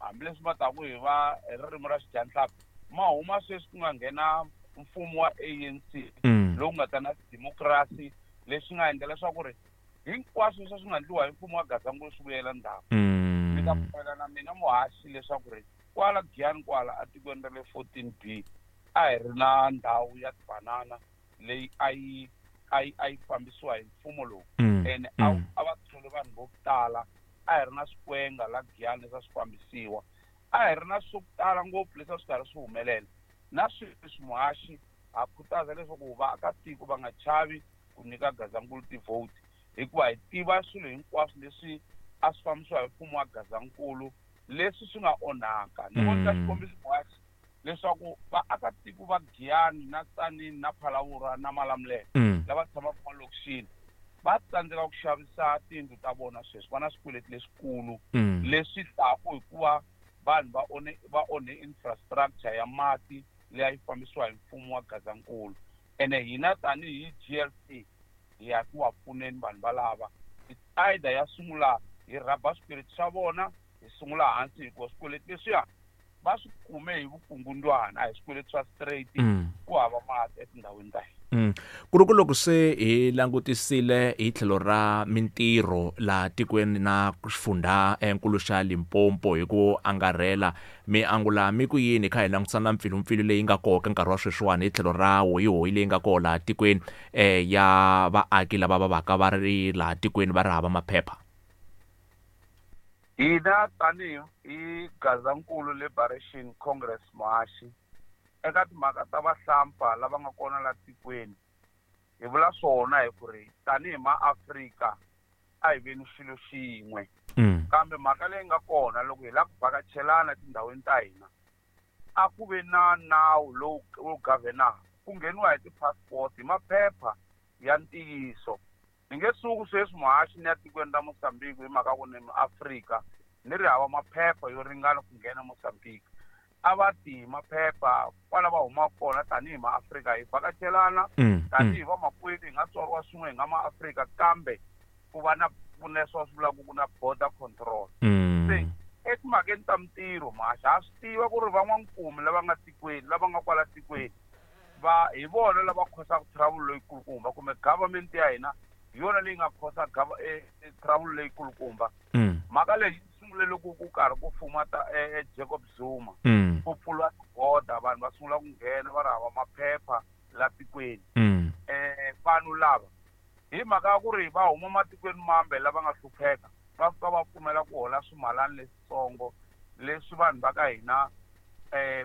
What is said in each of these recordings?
Hambileswi ma taku hi va hi ririmi ra xidyanhlampfi, ma huma sweswi ku nga nghena mfumo wa ANC lowu nga ta na democracy, leswi nga endla leswaku ri hinkwaswo leswi swi nga endliwa hi mfumo wa Gazankulu swi vuyela ndzhaku. Mi ta pfumela na mina muhaxi leswaku ri kwala Giyani kwala atikweni ra le 14B a hi ri na ndhawu ya tibanana leyi a yi fambisiwa hi mfumo lowu ene a va thole vanhu vo tala. A hi ri na swikwenga la Giyani leswi a swi fambisiwa, a hi ri na swo tala ngopfu leswi a swi karhi swi humelela. Na sweswi muhaxi ha khutaza leswaku vaakatiko va nga chavi ku nyika Gazankulu ti-vote, hikuva hi tiva swilo hinkwaswo leswi a swi fambisiwa hi mfumo wa Gazankulu leswi swi nga onhaka. Ni vonisa xikombiso muhaxi leswaku vaakatiko va Giyani na Tzaneen na Phalaborwa na Malamulele lava tshamaka malokixini va tsandzeka ku xavisa tiyindlu ta vona sweswi, va na swikweleti leswikulu leswi taku hikuva vanhu va onhe infrastructure ya mati leyi a yi fambisiwa hi mfumo wa Gazankulu. Ene hina tanihi GLC hi ya ku va pfuneni vanhu valava. It's either ya sungula hi rhaba swikweleti swa vona, hi sungula hansi, hikuva swikweleti leswiya va swi kume hi vukungundwana, a hi swikweleti swa straight. Ku hava mati etindhawini ta hina. Ku ri ku loko se hi langutisile hi tlhelo ra mintirho laha tikweni na xifundza enkulu xa Limpopo hi ku angarhela, mi angula mi ku yini kha hi langutisa na mpfilumpfilu leyi nga koho ka nkarhi wa sweswiwani hi tlhelo ra hoyihoyi leyi nga koho laha tikweni ya vaaki lava va vaka va ri laha tikweni va ri hava maphepha? Hina tanihi hi Gazankulu Liberation Congress, muhaxi, eka timhaka ta vahlampfa lava nga kona la tikweni, hi vula swona hi ku ri tanihi maAfrika a hi veni xilo xin'we. Kambe mhaka leyi nga kona, loko hi lava ku vhakachelana etindhawini ta hina, a ku ve na nawu lowu wu governaka ku ngheniwa hi ti-passport, hi maphepha ya ntiyiso. Ni nge suku sweswi muhaxi ni ya tikweni ra Mozambique hi mhaka ku ni muAfrika ni ri hava maphepha yo ringana ku nghena Mozambique. A va ti hi maphepha kwala va humaka kona. Tanihi maAfrika hi vhakachelana tanihi vamakwerhu, hi nga tswariwa swin'we, hi nga maAfrika, kambe ku va na ku na leswi va swi vulaka ku na border control. Se etimhakeni ta mintirho, muhaxi, ha swi tiva ku ri van'wankumi lava nga tikweni, lava nga kwala tikweni, va hi vona lava khosaka trouble leyikulukumba, kumbe government ya hina hi yona leyi nga khosa trouble leyikulukumba. Mhaka leyi yi sungule loko ku karhi ku fuma ta Jacob Zuma, ku pfuriwa tiboda, vanhu va sungula ku nghena va ri hava maphepha la tikweni. Vanhu lava, hi mhaka ya ku ri va huma matikweni mambe lava nga hlupheka, va fika va pfumela ku hola swimalani leswitsongo leswi vanhu va ka hina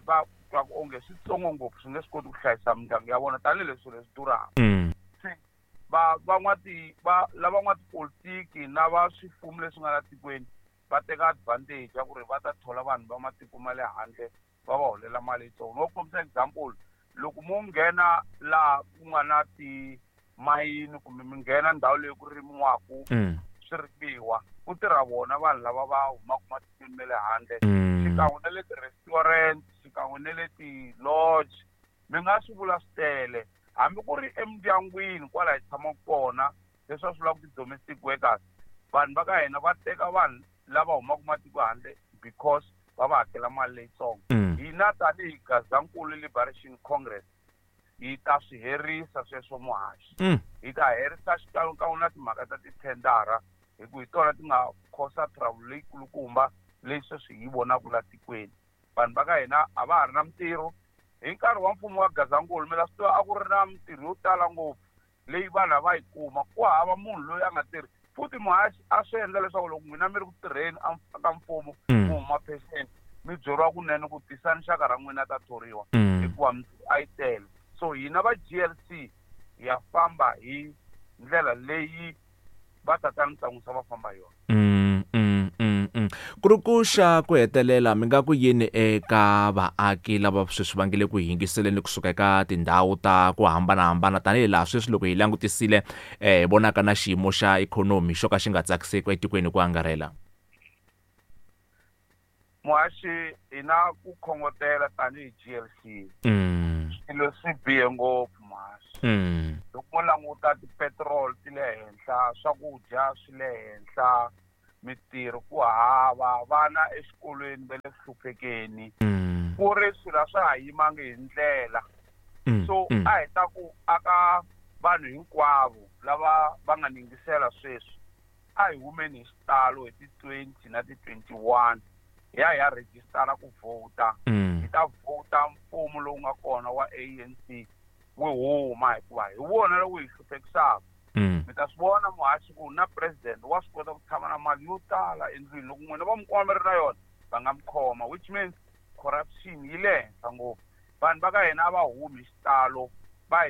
va twaku onge switsongo ngopfu, swi nge swi koti ku hlayisa mindyangu ya vona tanihileswi swilo leswi durhaka. Se va van'wati va lava n'watipolitiki na va swifumo leswi nga la tikweni va teka advantage ya ku ri va ta thola vanhu va matiko ma le handle, va va holela mali yitsongo. No kombisa example, loko mo nghena laha ku nga na timayini kumbe mi nghena ndhawu leyi ku rimiwaku swirimiwa, ku tirha vona vanhu lava va humaka matikweni ma le handle, xikan'we na le ti-restaurant, xikan'we na le ti-lodge. Mi nga swi vula swi tele, hambi ku ri emindyangwini kwala hi tshamaka kona, leswi va swi vulaka ti-domestic workers, vanhu va ka hina va teka vanhu lava humaka matiko handle because va va hakela mali leyitsongo. Hina tanihi Gazankulu Liberation Congress hi ta swi herisa sweswo, muhaxi. Hi ta herisa xikan'wekan'we na timhaka ta tithendara, hi ku hi tona ti nga khosa trouble leyikulukumba leyi sweswi hi yi vonaka la tikweni. Vanhu va ka hina a va ha ri na mintirho. Hi nkarhi wa mfumo wa Gazankulu, mi la swi tiva, a ku ri na mintirho yo tala ngopfu leyi vanhu a va yi kuma, ku hava munhu loyi a nga tirhi. Futhi muhaxi, a swi endla leswaku loko n'wina mi ri ku tirheni ka mfumo, mi huma pension, mi byeriwa kunene ku tisani xaka ra n'wina ta thoriwa, hikuva mintirho a yi tele. So hina va GLC hi ya famba hi ndlela leyi va tatana Ntsan'wisa va famba hi yona. Ku ri ku xa ku hetelela, mi nga ku yini eka vaaki lava sweswi va nge le ku yingiseleni kusuka eka tindhawu ta ku hambanahambana, tanihi laha sweswi loko hi langutisile hi vonaka na xiyimo xa ikhonomi xo ka xi nga tsakiseki etikweni hi ku angarhela? Muhaxi, hi na ku khongotela tanihi GLC. Swilo swi bihe ngopfu, muhaxi. Loko mo languta, tipetrol ti le henhla, swakudya swi le henhla. Mitirho ku hava, vana exikolweni va le ku hluphekeni. Ku ri swilo a swa ha yimangi hi ndlela. So a hi ta ku aka vanhu hinkwavo lava va nga ni yingisela sweswi, a hi humeni hi xitalo hi ti 20 na ti 21 hi ya hi ya rejistara ku vhota. Hi ta vhota mfumo lowu nga kona wa ANC wu huma, hikuva hi wona lowu hi hluphekisaka. Mi ta swi vona muhaxi ku na president wa swi kota ku tshama na mali yo tala endlwini, loko n'wina va mi kuma mi ri na yona va nga mi khoma, which means corruption yi le henhla ngopfu. Vanhu va ka hina a va humi hi xitalo, va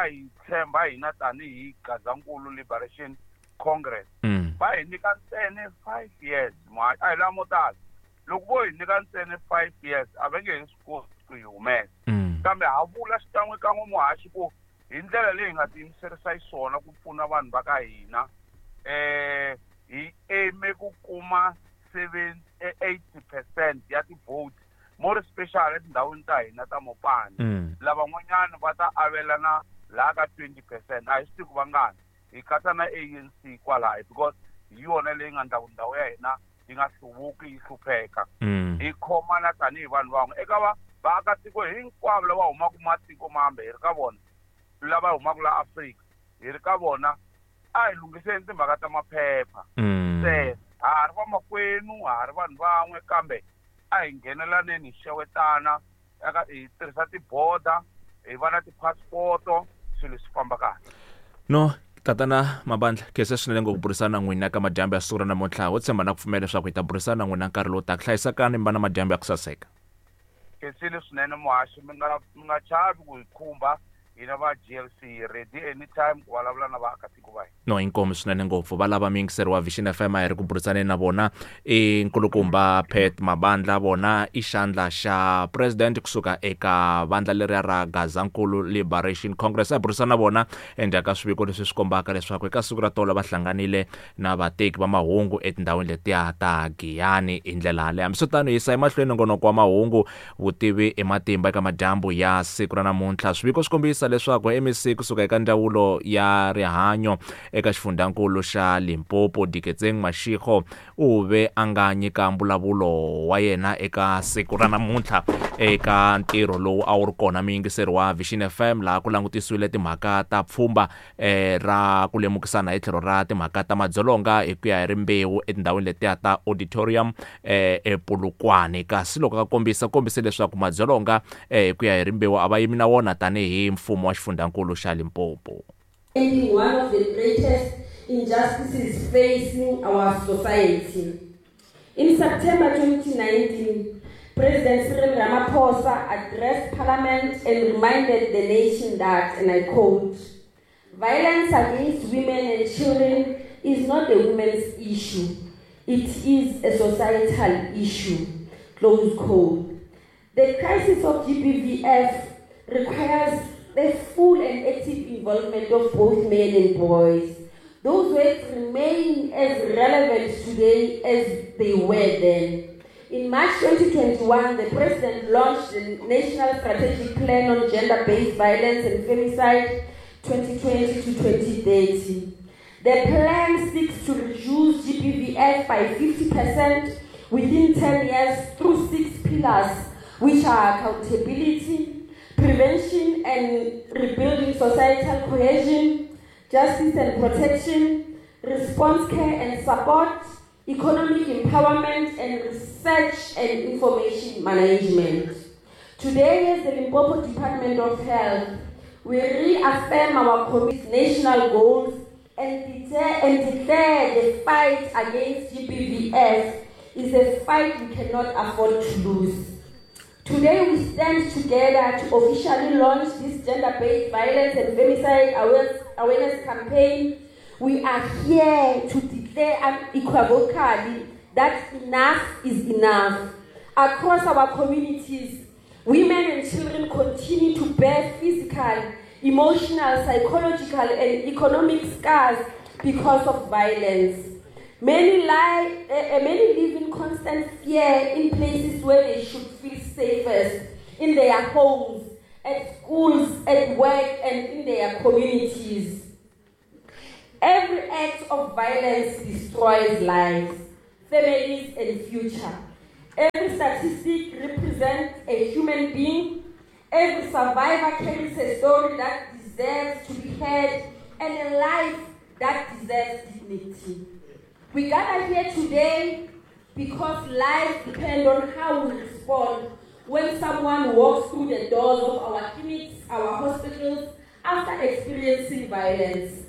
hi tshemba hina tanihi Gazankulu Liberation Congress. Va hi nyika ntsena 5 years, a hi lamo tala. Loko vo hi nyika ntsena 5 years a va nge he swi koti ku hi humesa. Kambe ha vula xikan'wekan'we muhaxi ku hi ndlela leyi hi nga tiyimiserisa xiswona ku pfuna vanhu va ka hina, hi aime ku kuma 80% ya ti-vote, more special etindhawini ta hina ta Mopani. Lavan'wanyana va ta avelana laha ka 20%, a hi swi tivi ku vangani, hi katsa na ANC kwalaho, because hi yona leyi nga endla ku ndhawu ya hina yi nga hluvuki yi hlupheka. Hi khomana tanihi vanhu van'we eka vaakatiko hinkwavo lava humaka matiko mambe, hi ri ka vona lava humaka la Afrika, hi ri ka vona a hi lunghiseni timhaka ta maphepha. Se ha ha ri vamakwenu, ha ha ri vanhu van'we, kambe a hi nghenelaneni hi xewetana, eka hi tirhisa tiboda, hi va na tipasipoto, swilo swi famba kahle. No, Tatana Mabandla, khensa swinene ngopfu ku burisana na n'wina ka madyambu ya siku ra namuntlha. Ho tshemba na ku pfumela leswaku hi ta burisana na n'wina nkarhi lowu taka. Hlayisekani mi va na madyambu ya ku saseka. Khensile swinene muhaxi, mi nga chavi ku hi khumba hina va GLC, ready anytime ku vulavula na vaakatiko va hina. No, inkomu swinene ngopfu. Va lava muyingiseri wa Vision FM a hi ri ku burisaneni na vona i nkulukumba Pat Mabandla, vona i xandla xa president kusuka eka vandla leriya ra Gazankulu Liberation Congress. A hi burisana na vona endzhaku ka swiviko leswi swi kombaka leswaku eka siku ra tolo va hlanganile na vateki va mahungu etindhawini letiya ta Giyani hi ndlela yaleyo. Hambiswiritano, hi yisa emahlweni nongonoko wa mahungu vutivi i matimba eka madyambu ya siku ra namuntlha. Swiviko swi kombisa leswaku MEC kusuka eka ndzawulo ya rihanyo eka xifundhankulu xa Limpopo, Diketseng Mashego, u ve a nga nyika mbulavulo wa yena eka siku ra namuntlha eka ntirho lowu a wu ri kona muyingiseri wa Vision FM, laha ku langutisiwile timhaka ta pfhumba ra ku lemukisana hi tlhelo ra timhaka ta madzolonga hi ku ya hi rimbewu etindhawini letiya ta auditorium ePolokwane. Kasi loko a kombisa, kombise leswaku madzolonga hi ku ya hi rimbewu a va yimi na wona tanihi mfumo wa xifundhankulu xa Limpopo. Ending one of the greatest injustices facing our society. In September 2019, President Cyril Ramaphosa addressed Parliament and reminded the nation that, and I quote, "Violence against women and children is not a women's issue. It is a societal issue," close quote. The crisis of GBVF requires the full and active involvement of both men and boys. Those words remain as relevant today as they were then. In March 2021, the President launched the National Strategic Plan on Gender-Based Violence and Femicide 2020 to 2030. The plan seeks to reduce GBVF by 50% within 10 years through 6 pillars, which are accountability, prevention and rebuilding societal cohesion, justice and protection, response care and support, economic empowerment, and research and information management. Today, as the Limpopo Department of Health, we reaffirm our committed national goals and declare the fight against GBVF is a fight we cannot afford to lose. Today, we stand together to officially launch this gender-based violence and femicide awareness campaign. We are here to declare unequivocally that enough is enough. Across our communities, women and children continue to bear physical, emotional, psychological, and economic scars because of violence. Many live in constant fear in places where they should feel safest, in their homes, at schools, at work, and in their communities. Every act of violence destroys lives, families, and future. Every statistic represents a human being. Every survivor carries a story that deserves to be heard and a life that deserves dignity. We gather here today because lives depend on how we respond when someone walks through the doors of our clinics, our hospitals, after experiencing violence.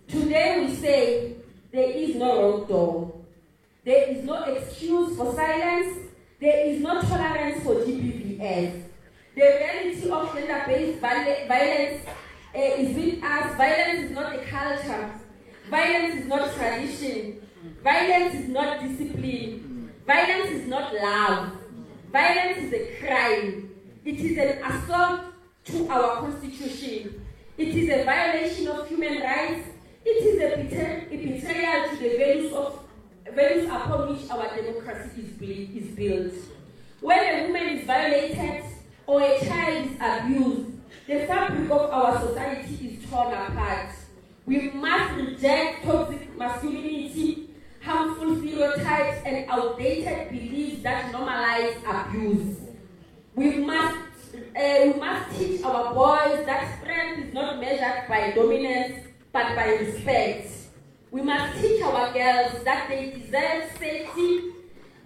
Today we say there is no wrong door. There is no excuse for silence. There is no tolerance for GBVF. The reality of gender-based violence is with us. Violence is not a culture. Violence is not tradition. Violence is not discipline. Violence is not love. Violence is a crime. It is an assault to our constitution. It is a violation of human rights. It is a betrayal to the values upon which our democracy is built. When a woman is violated or a child is abused, the fabric of our society is torn apart. We must reject toxic masculinity, harmful stereotypes, and outdated beliefs that normalize abuse. We must teach our boys that strength is not measured by dominance, but by respect. We must teach our girls that they deserve safety,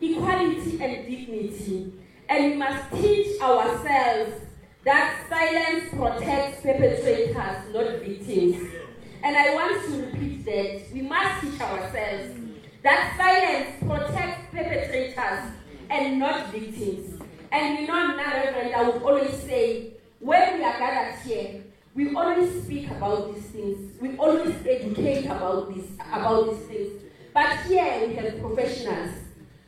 equality, and dignity. And we must teach ourselves that silence protects perpetrators, not victims. And I want to repeat that. We must teach ourselves that silence protects perpetrators and not victims. And you know, Reverend, I would always say, when we are gathered here, we always speak about these things. We always educate about these things. But here we have professionals.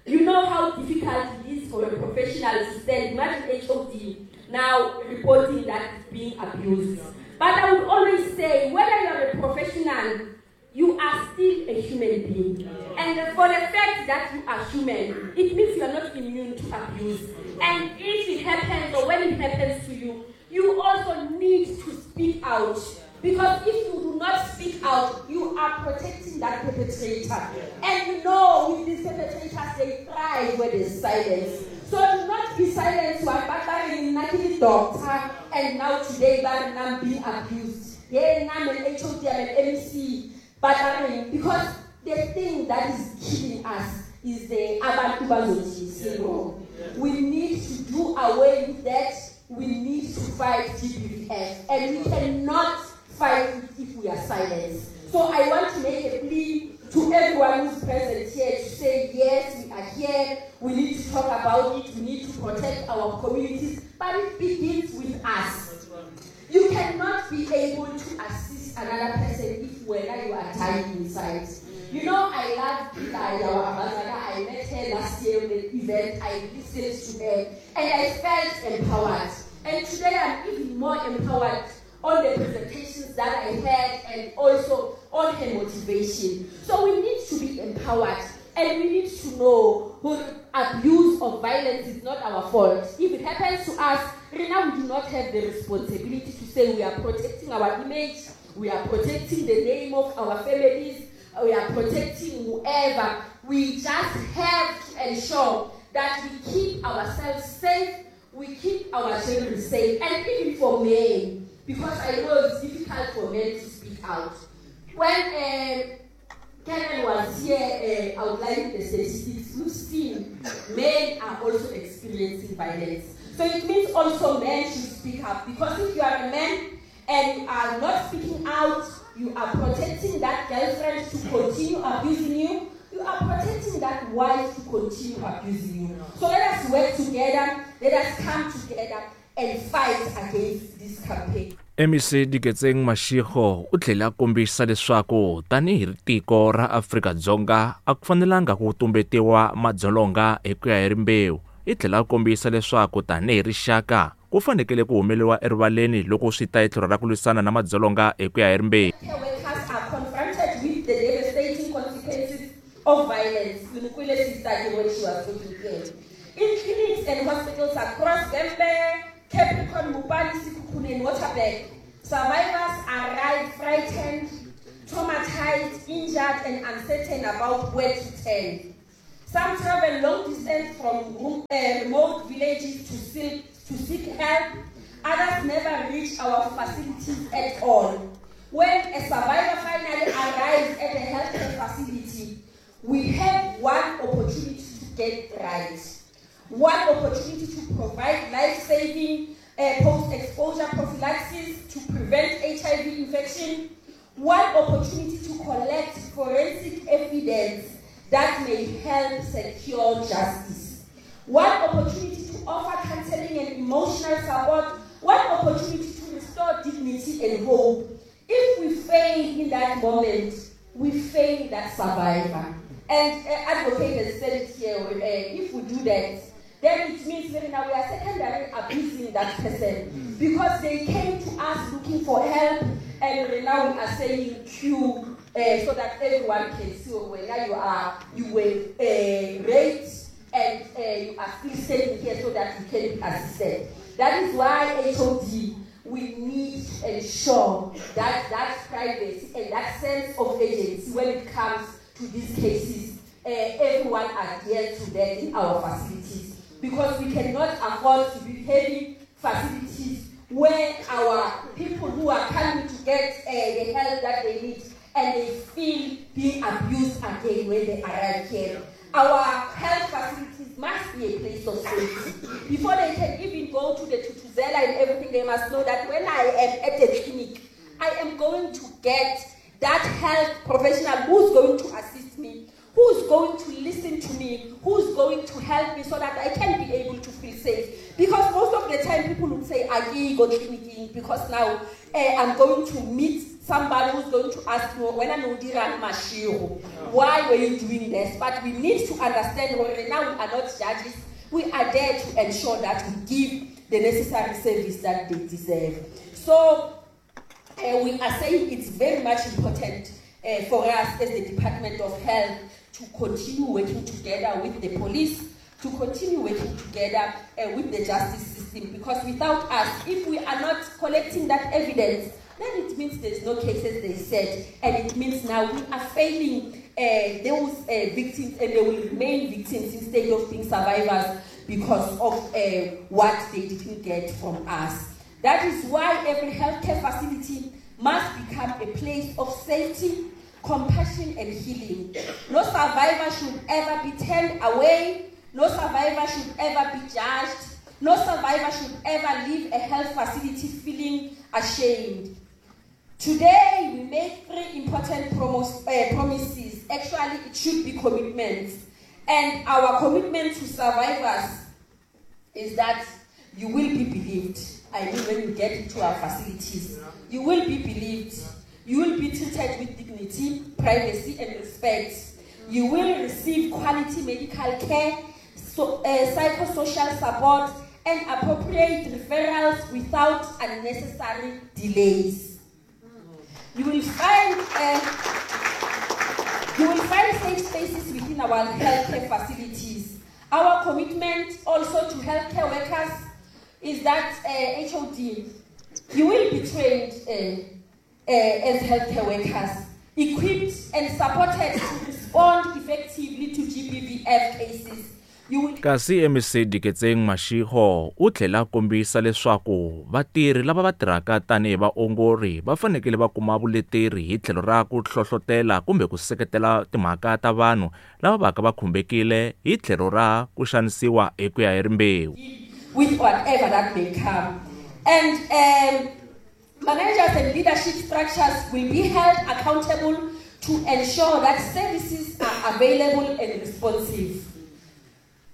You know how difficult it is for a professional to stand, imagine HOD now reporting that it's being abused. But I would always say, whether you're a professional, you are still a human being. And for the fact that you are human, it means you are not immune to abuse. And if it happens, or when it happens to you, you also need to speak out. Because if you do not speak out, you are protecting that perpetrator. And you know, with these perpetrators, they thrive where there's silence. So do not be silent. Doctor, and now today, I'm being abused. Yeah, I'm an HOD, I'm an MC. But I mean, because the thing that is killing us is the Abantu Bazothi syndrome. We need to do away with that. We need to fight GBVF, and we cannot fight it if we are silent. So I want to make a plea to everyone who's present here to say, yes, we are here, we need to talk about it, we need to protect our communities, but it begins with us. You cannot be able to assist another person if whether you are dying inside. You know, I love Pilar, our ambassador. I met her last year in the event. I listened to her and I felt empowered. And today I'm even more empowered on the presentations that I had and also on her motivation. So we need to be empowered and we need to know who abuse of violence is not our fault. If it happens to us, Rina, we do not have the responsibility to say we are protecting our image, we are protecting the name of our families, we are protecting whoever. We just have to ensure that we keep ourselves safe, we keep our children safe, and even for men, because I know it's difficult for men to speak out. When Karen was here outlining the statistics, we've seen men are also experiencing violence. So it means also men should speak up, because if you are a man and you are not speaking out, you are protecting that girlfriend to continue abusing you, you are protecting that wife to continue abusing you. So let us work together, let us come together and fight against this campaign. MEC Diketseng Mashego u tlhela a kombisa leswaku tanihi tiko ra Afrika-Dzonga a ku fanelanga ku tumbetiwa madzolonga hi ku ya hi rimbewu. I tlhela a kombisa leswaku tanihi rixaka ku fanekele ku humeliwa erivaleni loko swi ta hi tlhelo ra ku lwisana na madzolonga hi ku ya hi rimbewu. Workers are confronted with the devastating consequences of violence. Unikwile sister when she was talking here. In clinics and hospitals across Vhembe, Capricorn, Mopani, Sekhukhune, and Waterberg, survivors arrive frightened, traumatized, injured, and uncertain about where to turn. Some travel long distance from remote villages to seek help. Others never reach our facilities at all. When a survivor finally arrives at a healthcare facility, we have one opportunity to get right. One opportunity to provide life-saving post-exposure prophylaxis to prevent HIV infection. One opportunity to collect forensic evidence that may help secure justice. One opportunity to offer counseling and emotional support. One opportunity to restore dignity and hope. If we fail in that moment, we fail that survivor. And advocate has said it here, if we do that, then it means that now we are secondary abusing that person because they came to us looking for help, and now we are saying queue so that everyone can see whether you were raped and you are still staying here so that you can be assisted. That is why HOD, we need to ensure that that privacy and that sense of agency when it comes to these cases, everyone adheres to that in our facilities, because we cannot afford to be having facilities where our people who are coming to get the help that they need and they feel being abused again when they arrive here. Our health facilities must be a place of safety. Before they can even go to the Tutuzela and everything, they must know that when I am at the clinic, I am going to get that health professional who's going to assist me, who's going to listen to me, who's going to help me so that I can be able to feel safe. Because most of the time people would say, I go clinicking because now I'm going to meet somebody who's going to ask me, when I'm why were you doing this? But we need to understand, now we are not judges. We are there to ensure that we give the necessary service that they deserve. So we are saying it's very much important for us as the Department of Health to continue working together with the police, to continue working together with the justice system, because without us, if we are not collecting that evidence, then it means there's no cases, they said, and it means now we are failing those victims, and they will remain victims instead of being survivors because of what they didn't get from us. That is why every healthcare facility must become a place of safety, compassion, and healing. No survivor should ever be turned away. No survivor should ever be judged. No survivor should ever leave a health facility feeling ashamed. Today, we make three important promises. Actually, it should be commitments. And our commitment to survivors is that you will be believed. I mean, when you get into our facilities, you will be believed. You will be treated with dignity, privacy, and respect. You will receive quality medical care, psychosocial support, and appropriate referrals without unnecessary delays. You will find safe spaces within our healthcare facilities. Our commitment also to healthcare workers is that HOD, you will be trained as healthcare workers, equipped and supported to respond effectively to GBVF cases. Kasi MEC Diketseng Mashego u tlhela kombisa leswaku vatirhi lava va tirhaka tanihi vaongori va fanekele va kuma vuleteri hi tlhelo ra ku hlohlotela kumbe ku seketela timhaka ta vanhu lava vaka va khumbekile hi tlhelo ra ku xanisiwa hi ku ya hi rimbewu. With whatever that may come. And managers and leadership structures will be held accountable to ensure that services are available and responsive.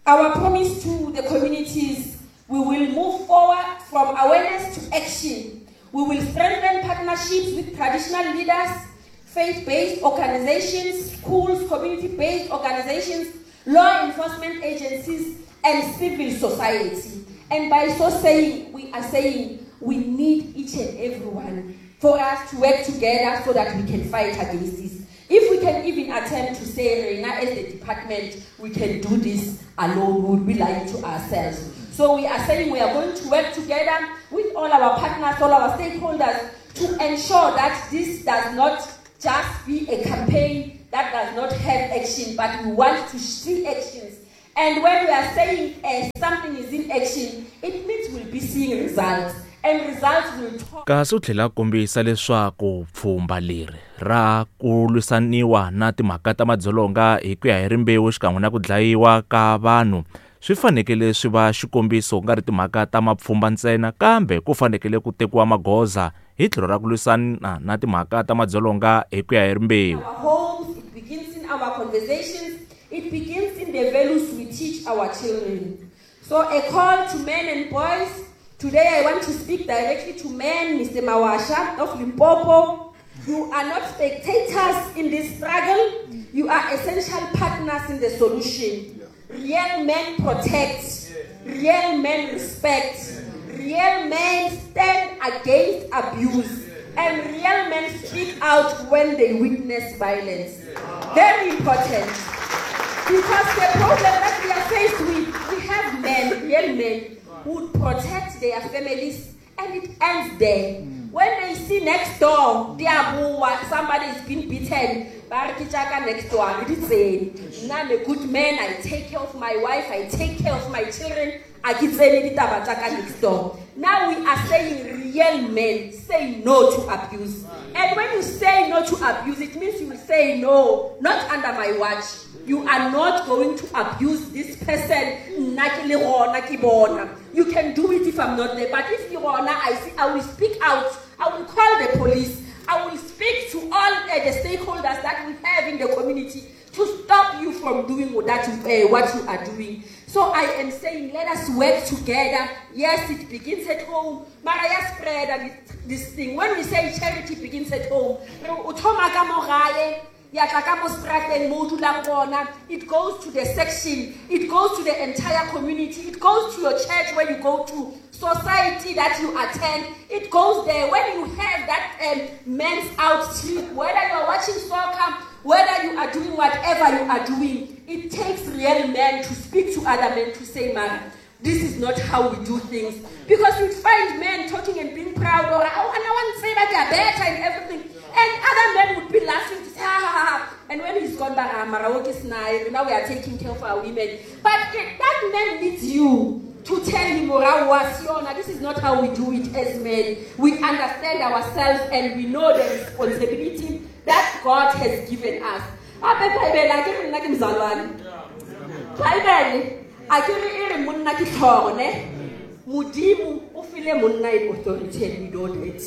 Our promise to the communities, we will move forward from awareness to action. We will strengthen partnerships with traditional leaders, faith-based organizations, schools, community-based organizations, law enforcement agencies, and civil society. And by so saying, we are saying we need each and everyone for us to work together so that we can fight against this. If we can even attempt to say, Rena, as the department, we can do this alone, we would be lying to ourselves. So we are saying we are going to work together with all our partners, all our stakeholders, to ensure that this does not just be a campaign that does not have action, but we want to see actions. And when we are saying something is in action, it means we'll be seeing results. And results will talk. Kasi u tlhela a kombisa leswaku pfhumba leri ra ku lwisaniwa na timhaka ta madzolonga hi ku ya hi rimbewu xikan'we na ku dlayiwa ka vanhu swi fanekele swi va xikombiso ku nga ri timhaka ta mapfhumba ntsena kambe ku fanekele ku tekiwa magoza hi tlhelo ra ku lwisana na timhaka ta madzolonga hi ku ya hi rimbewu. Our homes, it begins in our conversations, it begins in the values we teach our children. So a call to men and boys. Today I want to speak directly to men, Mr. Mawasha of Limpopo. You are not spectators in this struggle. You are essential partners in the solution. Real men protect. Real men respect. Real men stand against abuse. And real men speak out when they witness violence. Very important. Because the problem that we are faced with, we have men, real men, who protect their families, and it ends there. When they see next door, somebody is being beaten, next door, I'm a good man, I take care of my wife, I take care of my children, next door. Now we are saying real men say no to abuse. And when you say no to abuse, it means you will say no, not under my watch. You are not going to abuse this person. You can do it if I'm not there. But if you are not, I will speak out. I will call the police. I will speak to all the stakeholders that we have in the community to stop you from doing what you are doing. So I am saying, let us work together. Yes, it begins at home. Maraya spread this thing. When we say charity begins at home, it goes to the section, it goes to the entire community, it goes to your church where you go to, society that you attend, it goes there. When you have that men's out trip, whether you are watching soccer, whether you are doing whatever you are doing, it takes real men to speak to other men to say, man, this is not how we do things. Because you'd find men talking and being proud, or oh, and I want to say that they are better and everything. And other men would be laughing to say, ha, ha, ha. And when he's gone back, now we are taking care of our women. But that man needs you to tell him, this is not how we do it as men. We understand ourselves and we know the responsibility that God has given us. Authority, we don't it.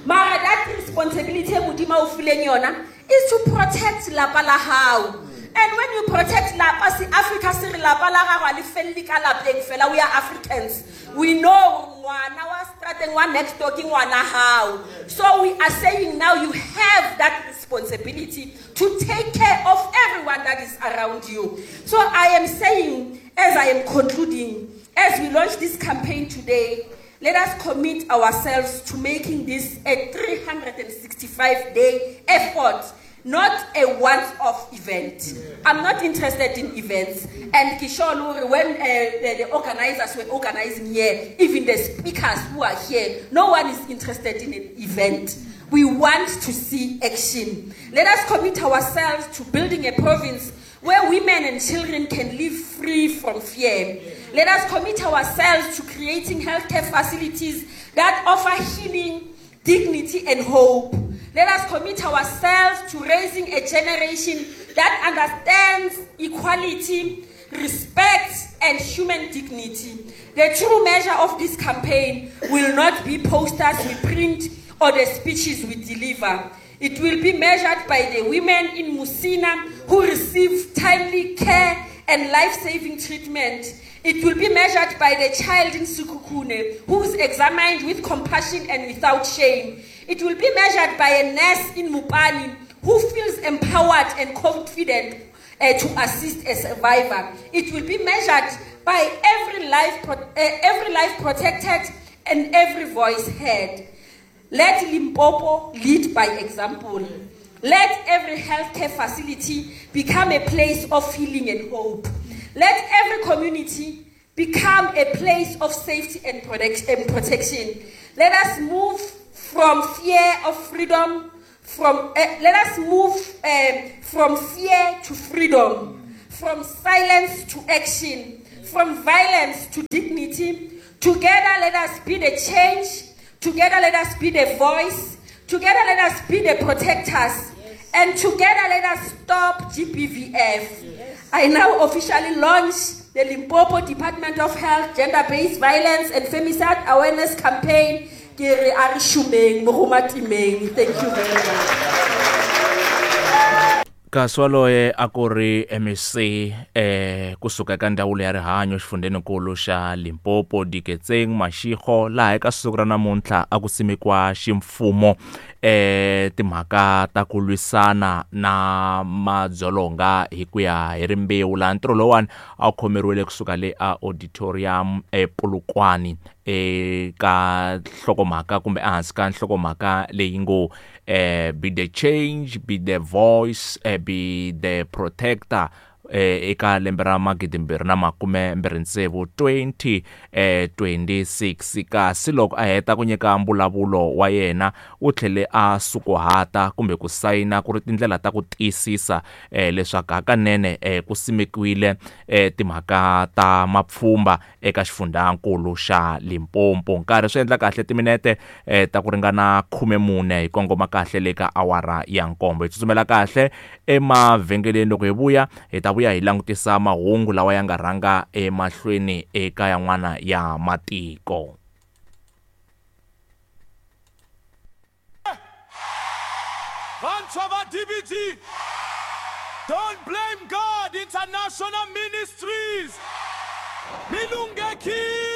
Mara, that responsibility is to protect lapa la hao. And when you protect lapa, si Africa si re lapa la gago le felle ka lapeng fela. We are Africans. We know ngwana wa strateng wa next door ke ngwana hao. So we are saying now you have that responsibility to take care of everyone that is around you. So I am saying, as I am concluding, as we launch this campaign today, let us commit ourselves to making this a 365-day effort, not a once-off event. I'm not interested in events. And Kishore, when the organizers were organizing here, even the speakers who are here, no one is interested in an event. We want to see action. Let us commit ourselves to building a province where women and children can live free from fear. Let us commit ourselves to creating healthcare facilities that offer healing, dignity, and hope. Let us commit ourselves to raising a generation that understands equality, respect, and human dignity. The true measure of this campaign will not be posters we print or the speeches we deliver. It will be measured by the women in Musina who receive timely care and life-saving treatment. It will be measured by the child in Sekhukhune who is examined with compassion and without shame. It will be measured by a nurse in Mupani who feels empowered and confident to assist a survivor. It will be measured by every life protected and every voice heard. Let Limpopo lead by example. Let every healthcare facility become a place of healing and hope. Let every community become a place of safety and protection. Let us move from fear of freedom, from let us move from fear to freedom, from silence to action, from violence to dignity. Together let us be the change. Together let us be the voice. Together let us be the protectors. And together let us stop GBVF. Yes. I now officially launch the Limpopo Department of Health Gender-Based Violence and Femicide Awareness Campaign. Ke re a re šomeng, mogomatimeng. Thank you very much. Kasi waloye a ku ri MEC kusuka eka ndzawulo ya rihanyo xifundzheninkulu xa Limpopo Diketseng Mashego laha eka siku ra namuntlha a ku simekiwa ximfumo timhaka ta ku lwisana na madzolonga hi ku ya hi rimbewu laha ntirho lowuwani a wu khomeriwile kusuka le a auditorium ePolokwane eka nhlokomhaka kumbe ehansi ka nhlokomhaka leyi ngo be the change, be the voice, be the protector eka lembe ra 2026 2026. Kasi loko a heta ku nyika mbulavulo wa yena u tlhele a sukuhata kumbe ku sayina ku ri tindlela ta ku tiyisisa leswaku hakanene ku simekiwile timhaka ta mapfhumba eka xifundzankulu xa Limpopo. Nkarhi swi endla kahle timinete ta ku ringana 14 hi kongoma kahle le ka awara ya 7. Hi tsutsumela kahle emavhengeleni, loko hi vuya hi ta vuya hi langutisa mahungu lawa ya nga rhanga emahlweni eka yan'wana ya matiko. Vantshwa va DBT, Don't Blame God International Ministries, Milungekile.